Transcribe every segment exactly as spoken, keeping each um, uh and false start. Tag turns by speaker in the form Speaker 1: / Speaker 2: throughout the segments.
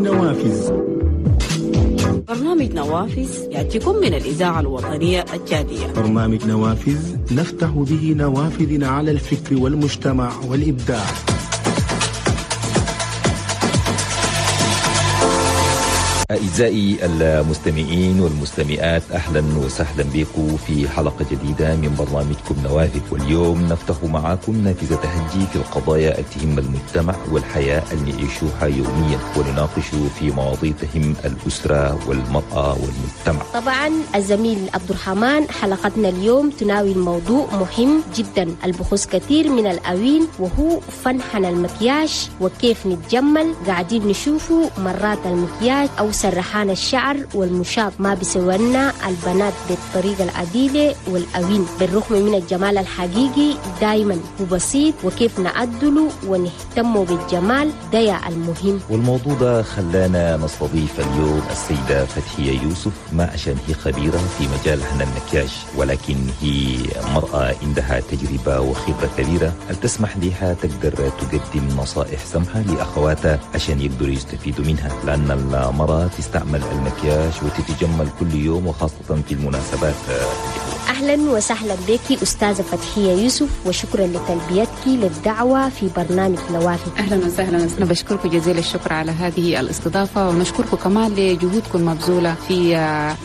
Speaker 1: نوافذ.
Speaker 2: برنامج نوافذ يأتيكم من الإذاعة الوطنية التشادية.
Speaker 1: برنامج نوافذ نفتح به نوافذنا على الفكر والمجتمع والإبداع.
Speaker 3: أعزائي المستمعين والمستمعات، أهلا وسهلا بكم في حلقة جديدة من برنامجكم نوافذ. واليوم نفتح معاكم نافذة تهجي في القضايا التي تهم المجتمع والحياة اللي نعيشوها يوميا، ونناقش في مواضيع تهم الأسرة والمرأة والمجتمع.
Speaker 4: طبعا الزميل عبد الرحمن، حلقتنا اليوم تناول موضوع مهم جدا البخص كثير من الأوين، وهو فنحن المكياج وكيف نتجمل. قاعدين نشوفه مرات المكياج أو سرحان الشعر والمشاط ما بيسوينا البنات بالطريقة العديلة والأوين، بالرغم من الجمال الحقيقي دايما هو بسيط، وكيف نعدله ونهتم بالجمال ده يا المهم.
Speaker 3: والموضوع ده خلانا نستضيف اليوم السيدة فتحية يوسف، ما عشان هي خبيرة في مجال هنا المكياج، ولكن هي مرأة عندها تجربة وخبرة كبيرة تسمح لها تقدر تقدم نصائح سمحة لأخواتها عشان يقدروا يستفيدوا منها، لأن المرأة تستعمل المكياج وتتجمل كل يوم وخاصة في المناسبات.
Speaker 4: أهلا وسهلا بك أستاذة فتحية يوسف، وشكرا لتلبيتك للدعوة في برنامج نوافذ.
Speaker 5: أهلا وسهلا، أنا بشكركم جزيل الشكر على هذه الاستضافة، ونشكركم كمان لجهودكم المبذولة في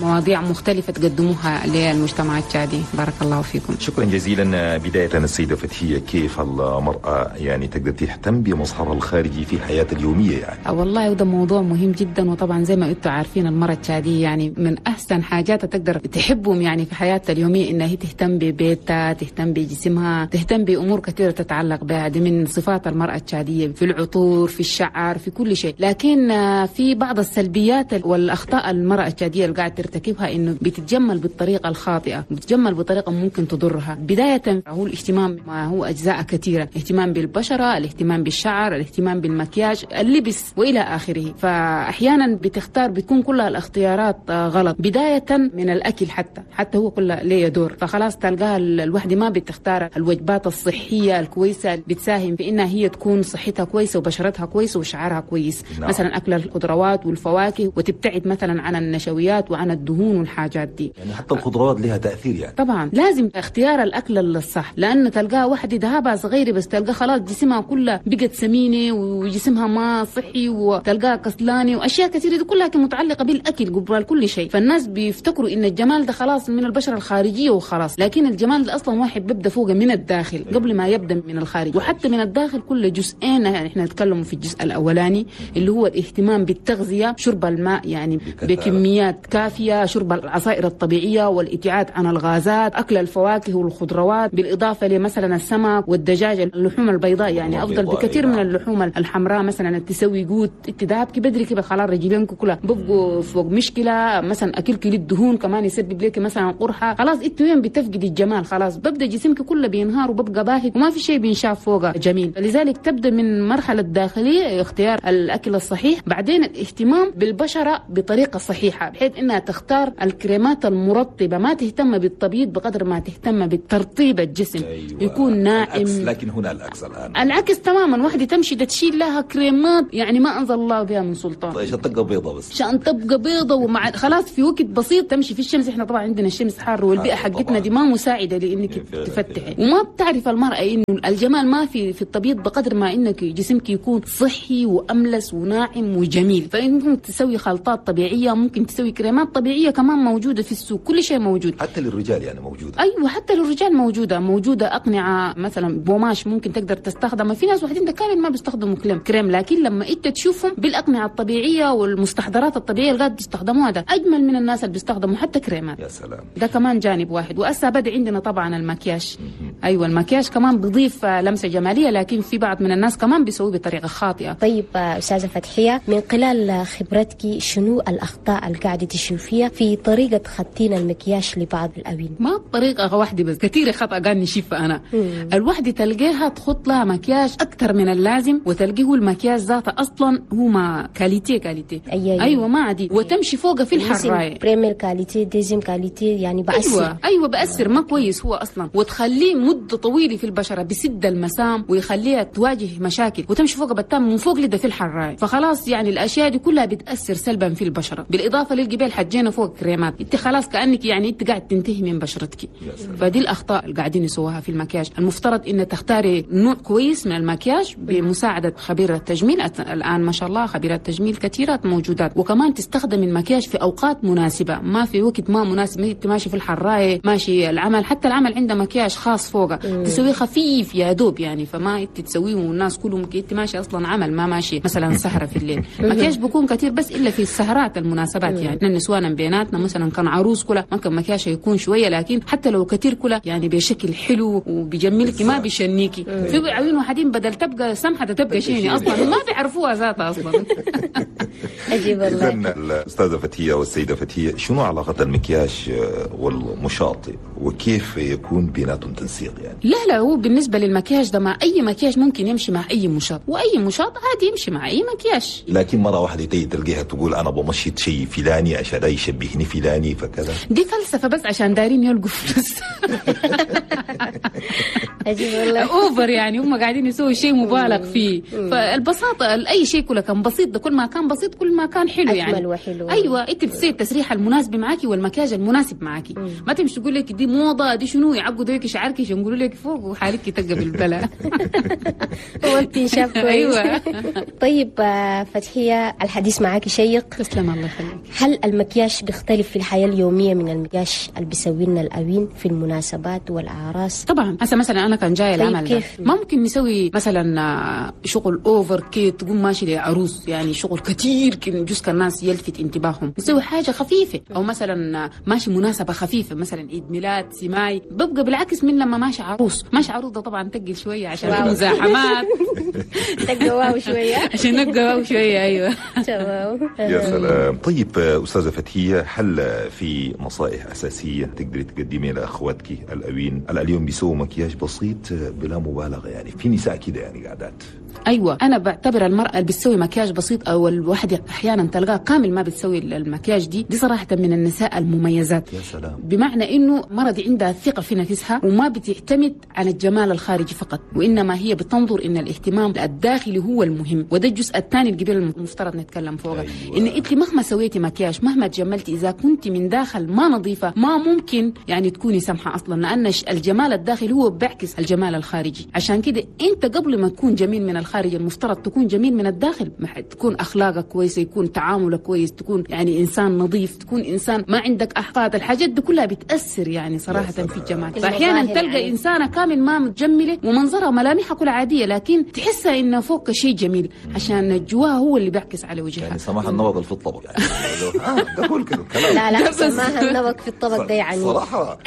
Speaker 5: مواضيع مختلفة تقدموها للمجتمع التشادي. بارك الله فيكم.
Speaker 3: شكرا جزيلا. بداية السيدة فتحية، كيف المرأة يعني تقدر تهتم بمظهرها الخارجي في حياتها اليومية؟ يعني
Speaker 5: والله وده موضوع مهم جدا، وطبعا زي ما انتم عارفين المرأة التشادية يعني من أحسن حاجات تقدر تحبهم يعني في حياتها اليومية إنها هي تهتم ببيتها، تهتم بجسمها، تهتم بأمور كثيرة تتعلق بها. دي من صفات المرأة التشادية في العطور، في الشعر، في كل شيء. لكن في بعض السلبيات والأخطاء المرأة التشادية اللي قاعدة ترتكبها إنه بتتجمل بالطريقة الخاطئة، بتتجمل بطريقة ممكن تضرها. بداية هو الاهتمام، ما هو أجزاء كثيرة، اهتمام بالبشرة، الاهتمام بالشعر، الاهتمام بالمكياج، اللبس وإلى آخره. فأحيانا بتختار، بتكون كلها الاختيارات غلط، بداية من الأكل حتى حتى هو كله ليه دور. فخلاص تلقاها الوحدة ما بتختار الوجبات الصحية الكويسة بتساهم في إنها هي تكون صحتها كويسة وبشرتها كويسة وشعرها كويس. نعم. مثلا أكل الخضروات والفواكه، وتبتعد مثلا عن النشويات وعن الدهون والحاجات دي.
Speaker 3: يعني حتى الخضروات لها تأثير يعني.
Speaker 5: طبعا لازم اختيار الأكل الصح، لأن تلقاها واحدة ذهبها صغيرة بس تلقاها خلاص جسمها كله بقت سمينة وجسمها ما صحي، وتلقاها كسلانة وأشياء كثيرة دي كلها متعلقة بالأكل قبل كل شيء. فالناس بيفتكروا إن الجمال ده خلاص من البشرة الخارجية وخلاص، لكن الجمال ده أصلا واحد بيبدأ فوق من الداخل قبل ما يبدأ من الخارج. وحتى من الداخل كل جزئين، يعني احنا نتكلم في الجزء الأولاني اللي هو الاهتمام بالتغذية، شرب الماء يعني بكميات كافية، شرب العصائر الطبيعية والابتعاد عن الغازات، أكل الفواكه والخضروات، بالإضافة لمثلا السمك والدجاج، اللحوم البيضاء يعني أفضل بكثير من اللحوم الحمراء. مثلا تسوي جوت اتداب بدري كده خلاص رجلينك كلها ببقوا فوق مشكلة. مثلا أكل كل الدهون كمان يسبب لك مثلا قرحة، خلاص انت وين بتفقد الجمال، خلاص ببدا جسمك كله بينهار وببقى باهت وما في شيء بينشاف فوقه جميل. لذلك تبدا من مرحلة الداخلية اختيار الاكل الصحيح، بعدين الاهتمام بالبشره بطريقة صحيحه بحيث انها تختار الكريمات المرطبه، ما تهتم بالتبييض بقدر ما تهتم بترطيب الجسم.
Speaker 3: أيوة.
Speaker 5: يكون ناعم.
Speaker 3: العكس، لكن هنا العكس الان،
Speaker 5: العكس تماما. واحدة تمشي تشيل لها كريمات يعني ما انزل الله بها من سلطان،
Speaker 3: طيب عشان تبقى بيضة بس،
Speaker 5: عشان تبقى بيضة ومع خلاص في وقت بسيط تمشي في الشمس. احنا طبعا عندنا الشمس حار والبيئة حقتنا دي ما مساعدة لانك تفتحي، وما بتعرف المراة انه الجمال ما في في التبييض بقدر ما انك جسمك يكون صحي واملس وناعم وجميل. فممكن تسوي خلطات طبيعية، ممكن تسوي كريمات طبيعية كمان موجودة في السوق، كل شيء موجود،
Speaker 3: حتى للرجال يعني موجودة.
Speaker 5: ايوه حتى للرجال موجودة، موجودة اقنعه مثلا بوماش ممكن تقدر تستخدمها. في ناس واحدين ده كامل ما بيستخدموا كريم كريم، لكن لما انت تشوفهم بالاقنعه الطبيعية والمستحضرات الطبيعية اللي قاعد بيستخدموها ده اجمل من الناس اللي بيستخدموا حتى كريمات.
Speaker 3: يا سلام،
Speaker 5: ده كمان جانب واحد. وأسا بدأ عندنا طبعا المكياج. ايوه المكياج كمان بيضيف لمسه جمالية، لكن في بعض من الناس كمان بيسويه بطريقة خاطئه.
Speaker 4: طيب استاذه فتحيه، من خلال خبرتك شنو الاخطاء اللي قاعدة تشوفيها في طريقه خطين المكياج لبعض الاوين؟
Speaker 5: ما بطريقة واحدة بس، كثير خطا قاعد نشوفها انا. مم. الوحدة تلقاها تخط لها مكياج اكثر من اللازم، وتلقيه المكياج ذاته اصلا هو ما qualité qualité.
Speaker 4: أيوة,
Speaker 5: ايوه ما عادي، وتمشي فوقه في الحرايه
Speaker 4: première qualité deuxième qualité يعني بأسر.
Speaker 5: أيوة. ايوه بأثر ما كويس هو اصلا، وتخليه مده طويلة في البشرة، بسد المسام ويخليها تواجه مشاكل وتمشي فوق بتام من فوق لده في الحرايه، فخلاص يعني الاشياء دي كلها بتاثر سلبا في البشرة. بالاضافة للجبال حجينا فوق كريمات، انت خلاص كانك يعني انت قاعد تنتهي من بشرتك. فدي الاخطاء اللي قاعدين يسووها في المكياج. المفترض ان تختاري نوع كويس من المكياج بمساعدة خبيرة تجميل، الان ما شاء الله خبيرات تجميل كثيرات موجودات، وكمان تستخدم المكياج في اوقات مناسبة، ما في وقت ما مناسب، انت ماشي في الحرايه، ماشي العمل، حتى العمل عنده مكياج خاص فوقه تسويه خفيف يا دوب يعني، فما انت تسويه والناس كلهم انت ماشي اصلا عمل، ما ماشي مثلا سهره في الليل. مكياج بيكون كثير بس الا في السهرات المناسبات يعني، النسوان بيناتنا مثلا كان عروس كلها ممكن مكياج يكون شوية، لكن حتى لو كثير كلها يعني بشكل حلو وبيجملك ما بيشنيكي. في عيون واحدين بدل تبقى سمحه تبقى شيني اصلا ما بيعرفوها ذاتها اصلا.
Speaker 4: عجيب والله.
Speaker 3: اذا الاستاذة فتحيه والسيدة فتحيه، شنو علاقة المكياج والمشاط وكيف يكون بيناتهم تنسيق يعني؟
Speaker 5: لا لا، هو بالنسبة للمكياج ده مع اي مكياج ممكن يمشي مع اي مشاط، واي مشاط عادي يمشي مع اي مكياج.
Speaker 3: لكن مرة واحدة تيجي تلقيها تقول انا بمشيت شيء فلاني عشان يشبهني فلاني فكذا،
Speaker 5: دي فلسفة بس عشان دايرين يلقوا فلوس.
Speaker 4: عجيب والله،
Speaker 5: over يعني، هم قاعدين يسووا شيء مبالغ فيه. فالبساطه اي شيء كله كان بسيط، ده كل ما كان بسيط كل ما كان حلو يعني،
Speaker 4: اجمل وحلو.
Speaker 5: ايوه، انت بتسوي التسريحه المناسبة معاكي والمكياج المناسب معاكي، ما تمشي تقول لك دي موضة دي شنو، يعقدوا لك شعرك يقولوا لك فوق وحالك تلقى بالبلاء.
Speaker 4: هو انت شاف كويس.
Speaker 5: ايوه.
Speaker 4: طيب فتحيه، الحديث معاكي شيق.
Speaker 5: تسلم، الله يخليك.
Speaker 4: هل المكياج بيختلف في الحياة اليومية من المكياج اللي بيسوي لنا الاوين في المناسبات والاعراس؟
Speaker 5: طبعا. هسه مثلا انا كان جاي العمل
Speaker 4: طيب كيف؟
Speaker 5: ممكن نسوي مثلا شغل over كي تقوم ماشي لعروس يعني شغل كثير جزء الناس يلفت انتباههم، نسوي حاجة خفيفة، او مثلا ماشي مناسبة خفيفة مثلا عيد ميلاد سماي، ببقى بالعكس من لما ماشي عروس. ماشي عروس ده طبعا تقل شوية عشان في مزاحمات.
Speaker 4: تقوى wow شوية.
Speaker 5: عشان نقوى wow شوية. ايوه
Speaker 4: تمام.
Speaker 3: يا سلام. طيب استاذه فتحيه، هل في نصائح اساسية تقدري تقدميها لاخواتك الاوين اليوم بيسووا مكياج بسيط بلا مبالغه؟ يعني في نساء كده يعني قاعدات.
Speaker 5: ايوه، انا بعتبر المراة اللي بتسوي مكياج بسيط او الواحدة احيانا تلقاها كامل ما بتسوي المكياج دي، دي صراحة من النساء المميزات.
Speaker 3: يا سلام.
Speaker 5: بمعنى انه مرة دي عندها ثقة في نفسها وما بتعتمد على الجمال الخارجي فقط، وانما هي بتنظر ان الاهتمام الداخلي هو المهم، وده الجزء الثاني الكبير المفترض نتكلم فوقه.
Speaker 3: أيوة.
Speaker 5: ان انت مهما سويتي مكياج مهما تجملتي اذا كنت من داخل ما نظيفة ما ممكن يعني تكوني سمحه اصلا، لان الجمال الداخلي هو بيعكس الجمال الخارجي. عشان كده انت قبل ما تكون جميل من الخارج المفترض تكون جميل من الداخل، تكون اخلاقك كويسة، يكون تعاملك كويس، تكون يعني انسان نظيف، تكون انسان ما عندك احقاد. الحاجات دي كلها بتاثر يعني صراحة في الجمال. فاحيانا تلقى يعني انسانه كامل ما متجمله ومنظرها ملامحها كلها عادية، لكن تحسها انه فوق شيء جميل عشان جواها هو اللي بيعكس على وجهها.
Speaker 3: يعني سماح النبض في الطبق يعني. اه ده كل كده كلام.
Speaker 4: لا لا، سماح النبض في الطبق ده يعني
Speaker 3: صراحة.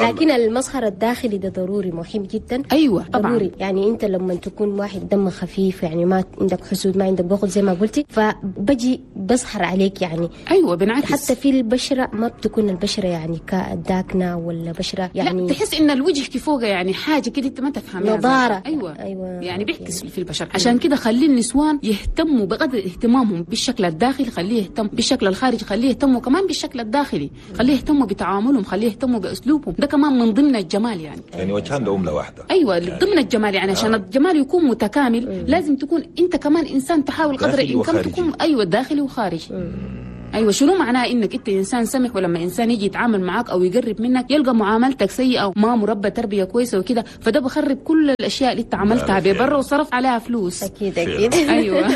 Speaker 4: لكن المظهر الداخلي ده ضروري مهم جدا.
Speaker 5: ايوه طبعا
Speaker 4: ضروري. يعني انت لما تكون واحد دم خفيف يعني ما عندك حسود ما عندك بخل زي ما قلتي، فبجي بظهر عليك يعني.
Speaker 5: ايوه بنعكس
Speaker 4: حتى في البشرة، ما بتكون البشرة يعني داكنه ولا بشره يعني،
Speaker 5: لا تحس ان الوجه كفوقه يعني حاجة كده انت ما تفهمها،
Speaker 4: نضاره.
Speaker 5: ايوه
Speaker 4: ايوه
Speaker 5: يعني بيعكس في البشرة. عشان كده خلي النسوان يهتموا بقدر اهتمامهم بالشكل الداخلي، خليه يهتم بالشكل الخارجي، خليه يهتموا كمان بالشكل الداخلي، خليه يهتموا بتعاملهم، خليه يهتموا باسلوبهم، ده كمان من ضمن الجمال يعني.
Speaker 3: يعني وجهان لعمله واحدة.
Speaker 5: ايوه يعني ضمن الجمال يعني عشان آه. الجمال يكون متكامل مم. لازم تكون انت كمان انسان تحاول قدر الامكان تكون ايوه داخلي وخارجي. ايوه شنو معناه انك انت انسان سمح ولما انسان يجي يتعامل معاك او يقرب منك يلقى معاملتك سيئه وما مربى تربيه كويسة وكده، فده بخرب كل الاشياء اللي انت عملتها ببره وصرف عليها فلوس.
Speaker 4: اكيد اكيد.
Speaker 5: ايوه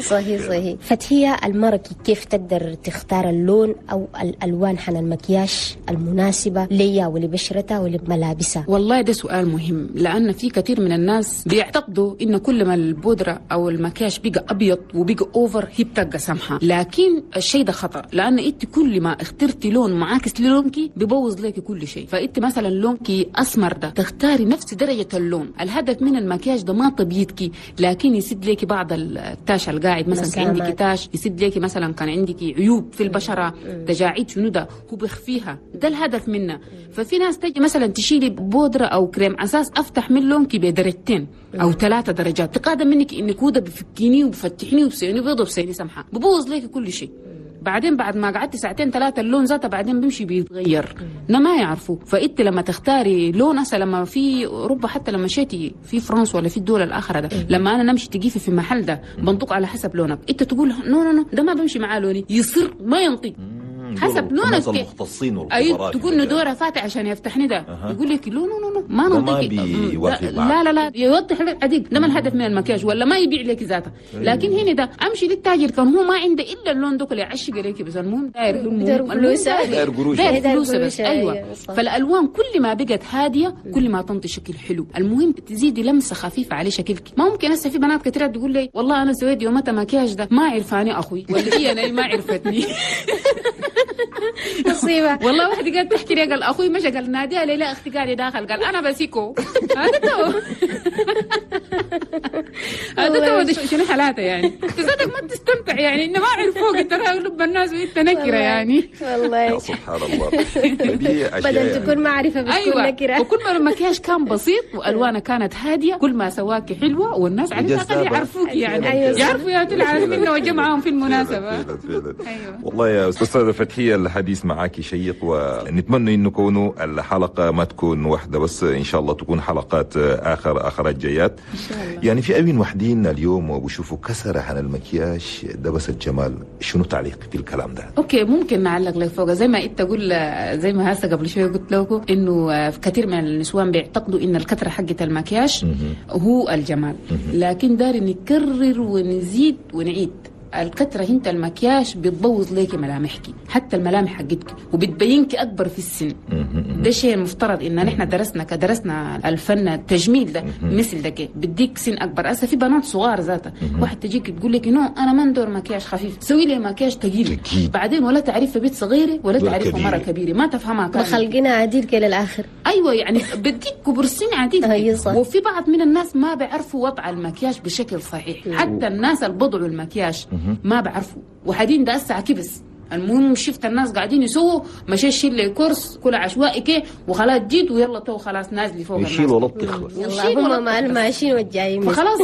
Speaker 4: صحيح صحيح. فتحيه، المرأة كيف تقدر تختار اللون او الالوان حن المكياج المناسبة ليا ولبشرتها ولملابسها؟
Speaker 5: والله ده سؤال مهم، لان في كثير من الناس بيعتقدوا ان كل ما البودره او المكياج بقى ابيض وبقى over هي بتبقى سمحه، لكن الشيء ده خطأ، لأن أنت كل ما اخترتي لون معاكس للونك ببوظ لك كل شيء. فأنت مثلا لونك أسمر ده تختاري نفس درجة اللون. الهدف من المكياج ده ما تبيضك، لكن يسد لك بعض ال tache القاعد، مثلا كان عندك tache يسد لك، مثلا كان عندك عيوب في البشرة تجاعيد شنو ده هو بيخفيها، ده الهدف منه. ففي ناس تجي مثلا تشيلي بودرة أو كريم أساس أفتح من لونك بدرجتين أو ثلاثة درجات، تقادم منك إنك هو ده بفكيني وبفتحني وبسيني بيضة وبسيني سمحة، ببوظ لك كل شيء. بعدين بعد ما قعدت ساعتين ثلاثة اللون ذاته بعدين بيمشي بيتغير، ما يعرفوا. فانت لما تختاري لون هسه لما في اوروبا حتى لما مشيتي في فرنسا ولا في الدول الاخرى ده، لما انا نمشي تجيفي في محل ده بنطق على حسب لونك، انت تقول no no no ده ما بمشي معاه لوني، يصير ما ينطق حسب لونك.
Speaker 3: المختصين والخبراء
Speaker 5: تقول انه دوره فاتح عشان يفتحني ده أه. يقول لك لا no no ما
Speaker 3: ننطق،
Speaker 5: لا لا لا يوضح لك عديد ده ما الهدف من المكياج ولا ما يبيع لك ذاته. لكن هنا ده امشي للتاجر كان هو ما عنده الا اللون ده اللي يعشق لك بس، المهم داير
Speaker 3: داير قروش
Speaker 5: داير بس. ايوه فالالوان كل ما بقت هادية كل ما تنطي شكل حلو، المهم تزيدي لمسه خفيفة على شكلك. ما ممكن هسه في بنات كثيرة تقول لي والله انا سويت يومتها مكياج ده ما عرفاني اخوي ولا هي انا ما عرفتني
Speaker 4: مصيبة
Speaker 5: والله. واحدة قالت تحكي لي قال اخوي مشى قال ناديها لي لا اختي قاعدة داخل قال انا بسيكو هذا تو هذا تو شنو حالاته يعني، انت ذاتك ما تستمتع يعني انه ما عرفوك انت لب الناس وانت نكره يعني.
Speaker 4: والله
Speaker 3: سبحان الله
Speaker 4: بدل تكون معرفة بتكون نكره.
Speaker 5: وكل ما المكياج كان بسيط والوانه كانت هادية كل ما سواك حلوة والناس على الاقل يعرفوك يعني، يعرفوا يا العالم انه وجمعهم في المناسبة.
Speaker 3: والله يا استاذه فتحيه الحديث معاك شيق، ونتمنى انه كونه الحلقة ما تكون واحدة بس، ان شاء الله تكون حلقات اخر اخرات جايات
Speaker 5: ان شاء الله.
Speaker 3: يعني في أوين وحدين اليوم وبشوفوا كسر عن المكياج ده بس الجمال، شنو تعليق في الكلام ده؟
Speaker 5: okay ممكن نعلق لك فوق زي ما انت تقول، زي ما هسه قبل شوية قلت لكم انه كثير من النسوان بيعتقدوا ان الكثرة حقه المكياج هو الجمال، لكن داري نكرر ونزيد ونعيد. الكترة انت المكياج بتبوظ ليكي ملامحك، حتى الملامح حقتك، وبتبينك اكبر في السن. ده شيء المفترض ان نحن درسنا كدرسنا الفن التجميل ده مثل ده كده بديك سن اكبر. هسه في بنات صغار ذاتها واحد تجيك تقول لك no انا ما ندور مكياج خفيف، سوي لي مكياج ثقيل، بعدين ولا تعرف بيت صغيرة ولا تعرف مرة كبيرة، ما تفهمها كامل
Speaker 4: مخلقنا عديد كده للاخر.
Speaker 5: ايوه يعني بديك كبر سن عديد. وفي بعض من الناس ما بيعرفوا وضع المكياج بشكل صحيح، حتى الناس اللي بضعوا المكياج ما بعرفوا وحدين ده هسه كبس. المهم شفت الناس قاعدين يسووا مشي شيل لي كورس كل عشوائي كي وخلاص جيت ويلا تو خلاص نازلي فوق الناس
Speaker 3: يشيل ولطخ بس
Speaker 4: يلا هم مع الماشيين والجايين
Speaker 5: فخلاص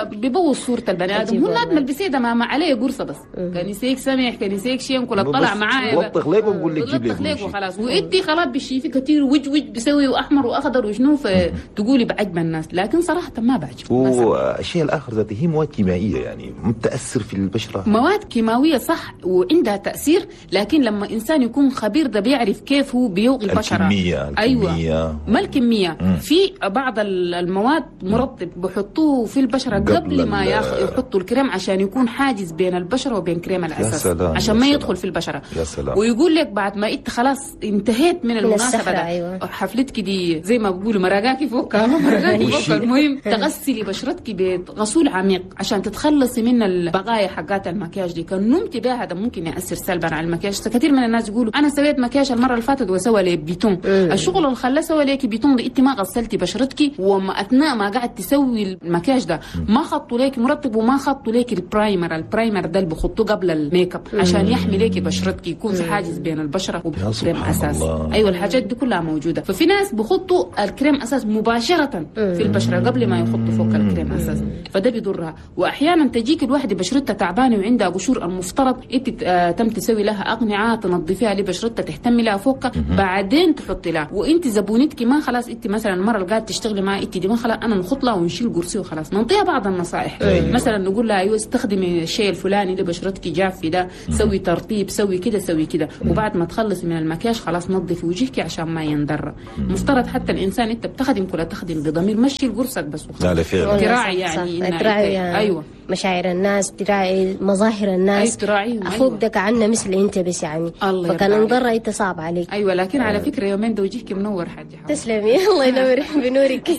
Speaker 5: بيبوظ صوره البني ادم. هو نادم البسيده ما, ما عليه قرصة بس كان يسيك سمح كان يسيك شين كل طلع معايا
Speaker 3: لطخ ليك وبقول لك جيب
Speaker 5: لي لطخ ليك وخلاص وانتي خلاص بالشيفي كثير وج وج بسوي واحمر واخضر وشنو فتقولي بعجب الناس، لكن صراحة ما بعجب.
Speaker 3: والشيء الاخر ذاته هي مواد كيميائية يعني متاثر في البشرة،
Speaker 5: مواد كيماوية صح وعندها تاثير، لكن لما إنسان يكون خبير ده بيعرف كيف هو بيوغي البشرة.
Speaker 3: الكمية, الكمية.
Speaker 5: أيوة ما الكمية. مم. في بعض المواد مرطب بحطوه في البشرة قبل, قبل ما ياخ... يحطوا الكريم عشان يكون حاجز بين البشرة وبين كريم الأساس،
Speaker 3: سلام
Speaker 5: عشان ما يدخل في البشرة.
Speaker 3: يا سلام.
Speaker 5: ويقول لك بعد ما انت خلاص انتهيت من المناسبة ده
Speaker 4: أيوة.
Speaker 5: حفلتك دي زي ما بيقولوا مرقاكي فوق مرقاكي فوق. المهم تغسلي بشرتك بغسول عميق عشان تتخلصي من البقايا حقات المكياج دي. كان نمتي بها ده ممكن يأثر سلبا على المكياج. كثير من الناس يقولوا انا سويت مكياج المرة اللي فاتت وسوى لي bouton. الشغل اللي خلاه سوى لك bouton ده انت ما غسلتي بشرتك، وما اثناء ما قاعد تسوي المكياج ده ما خطوا لك مرطب وما خطوا لك ال primer. ال primer ده اللي بخطوة قبل الميك اب عشان يحمي لك بشرتك، يكون في حاجز بين البشرة وكريم اساس. ايوه الحاجات دي كلها موجودة. ففي ناس بخطوا الكريم اساس مباشرة في البشرة قبل ما يخطوا فوق الكريم اساس، فده بيضرها. واحيانا تجيك الواحدة بشرتها تعبانة وعندها قشور، المفترض انت تم تسوي لها اقنعه تنظفيها لبشرتها تهتمي لها فوقها بعدين تحطي لها. وانت زبونتك ما خلاص انت مثلا المرة اللي قاعدة تشتغلي معها انت دي ما خلاص انا نخط لها ونشيل قرصي وخلاص، نعطيها بعض النصائح. أيوة. مثلا نقول لها ايوه استخدمي الشيء الفلاني لبشرتك جافة ده، سوي ترطيب، سوي كده سوي كده، وبعد ما تخلصي من المكياج خلاص نظفي وجهك عشان ما يندر. مفترض حتى الانسان انت بتخدم كلها تخدم بضمير، مشي قرصك بس وخلاص.
Speaker 3: لا لا فعلا
Speaker 5: تراعي يعني
Speaker 4: تراعي يعني.
Speaker 5: ايوه
Speaker 4: مشاعر الناس، تراعي مظاهر الناس.
Speaker 5: أيوة
Speaker 4: اخوك ده كعنا مثل انت بس يعني فكان انضر انت صعب عليك.
Speaker 5: ايوه لكن على فكرة يومين ده وجهك منور حاجة.
Speaker 4: تسلمي الله ينور بنورك.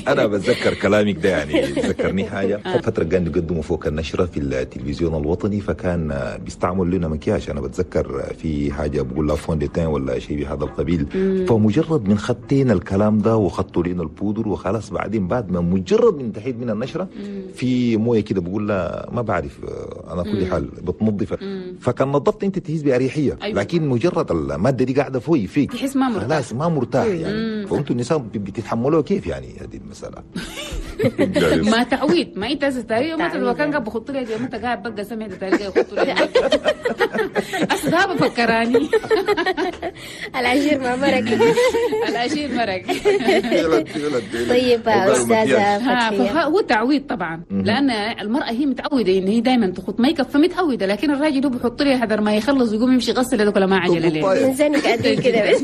Speaker 3: انا بتذكر كلامك ده يعني ذكرني حاجة. فترة كان يقدموا فوق النشرة في التلفزيون الوطني، فكان بيستعمل لنا مكياج. انا بتذكر في حاجة بقول لها fond de teint ولا شيء بهذا القبيل. فمجرد من خطينا الكلام ده وخطوا لنا البودر وخلاص، بعدين بعد ما مجرد من انتهيت من النشرة في بمويه كده بقول لا ما بعرف انا كل حال بتنظف، فكان نظفت انت تحس باريحية. أيوة. لكن مجرد المادة دي قاعدة فوق فيك
Speaker 5: تحس ما مرتاح،
Speaker 3: خلاص ما مرتاح يعني. فانتوا النساء بتتحملوها كيف يعني هذه المسالة؟
Speaker 5: ما تعويد، ما انت تاريخ ما تلو كان قاعد بخط لي انت قاعد بقى سمع تاريخ يخط لي اصل بفكراني
Speaker 4: العشير ما مرق
Speaker 5: العشير مرق.
Speaker 4: طيب استاذه فتحيه،
Speaker 5: هو تعويد طبعا، لان المراة هي متعوده ان هي دائما تخط ميك اب فمتعوده، لكن الراجل هو بيحط لي حذر ما يخلص ويقوم يمشي يغسل هذوك ما عجله ليه
Speaker 4: انزنك قد كده بس.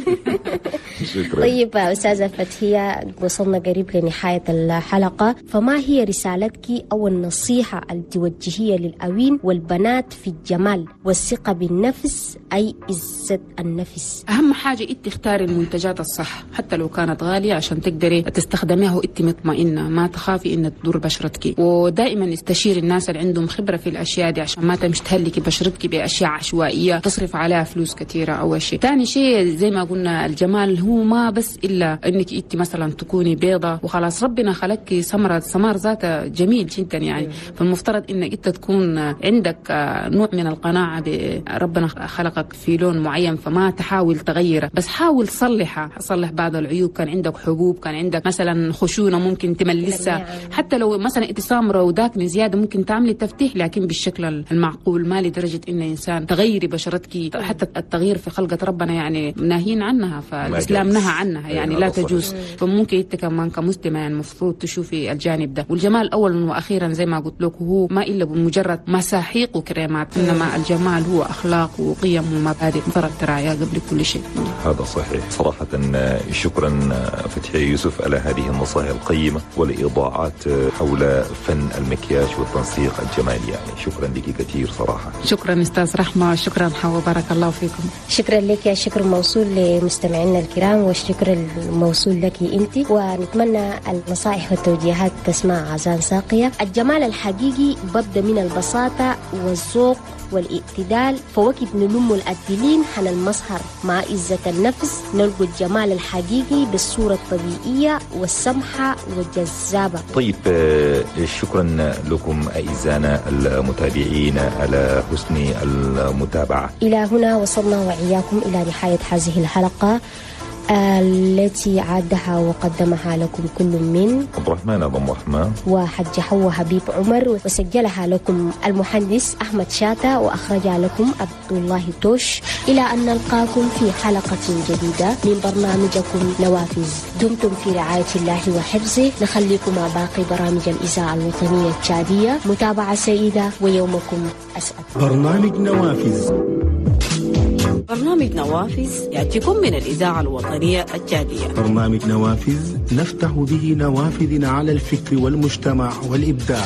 Speaker 4: طيب استاذه فتحيه، وصلنا قريب لنهاية الحلقة، فما هي رسالتك او النصيحة التوجيهيه للاوين والبنات في الجمال والثقة بالنفس، اي عزه النفس؟
Speaker 5: اهم حاجة انت تختاري المنتجات الصح حتى لو كانت غالية عشان تقدري تستخدميها وانت مطمئنة، ما تخافي ان تضر بشرتك. ودائما استشيري الناس اللي عندهم خبره في الاشياء دي عشان ما تمشي تهلكي بشرتك باشياء عشوائية تصرف عليها فلوس كثيرة. اول شيء. ثاني شيء زي ما قلنا الجمال هو ما بس الا انك انت مثلا تكوني بيضة وخلاص، ربنا خلقك سمرة، سمار ذاتها جميل جدا يعني، فالمفترض انك انت تكون عندك نوع من القناعة بربنا خلقك في لون معين، فما تحاول تغيره، بس حاول صلحها، صلح بعض العيوب. كان عندك حبوب، كان عندك مثلا خشونة ممكن تملسها، حتى لو مثلا انت سمرة وداكنه زيادة ممكن تعملي تفتيح، لكن بالشكل المعقول، ما لدرجة ان انسان تغيري بشرتك. حتى التغيير في خلقه ربنا يعني ناهين عنها، فالاسلام نهى عنها يعني لا تجوز. فممكن انت كمان كمسلمه يعني المفروض تشوفي الجانب ده. والجمال اولا واخيرا زي ما قلت لك هو ما الا بمجرد مساحيق وكريمات، انما الجمال هو اخلاق وقيم ومبادئ مفترض تراعيها قبل كل شيء.
Speaker 3: هذا صحيح صراحة. شكرا فتحي يوسف على هذه النصائح القيمة والايضاعات حول فن المكياج والتنسيق الجمالي، يعني شكرا لك كثير صراحة.
Speaker 5: شكرا استاذ رحمه، شكرا حوا، بارك الله فيكم.
Speaker 4: شكرا لك، يا شكر موصول لمستمعينا الكرام، والشكر الموصول لك انت، ونتمنى النصائح والتوجيهات تسمع عزان ساقيه. الجمال الحقيقي ببدا من البساطة والذوق والاعتدال، فوقت نلم الأدلين حن المظهر مع عزة النفس نلقى الجمال الحقيقي بالصورة الطبيعية والسمحة والجذابة.
Speaker 3: طيب شكرا لكم أعزائنا المتابعين على حسن المتابعة.
Speaker 4: إلى هنا وصلنا وإياكم إلى نهاية هذه الحلقة التي عادها وقدمها لكم كل من
Speaker 3: عبد الرحمن أبو رحمة
Speaker 4: وحج حوا حبيب عمر، وسجلها لكم المهندس أحمد شاتا، وأخرجها لكم عبد الله توش. إلى أن نلقاكم في حلقة جديدة من برنامجكم نوافذ، دمتم في رعاية الله وحفظه. نخليكم مع باقي برامج الإذاعة الوطنية التشادية. متابعة سعيدة ويومكم أسعد.
Speaker 1: برنامج نوافذ.
Speaker 2: برنامج نوافذ يأتيكم من الإذاعة الوطنية التشادية.
Speaker 1: برنامج نوافذ نفتح به نوافذنا على الفكر والمجتمع والإبداع.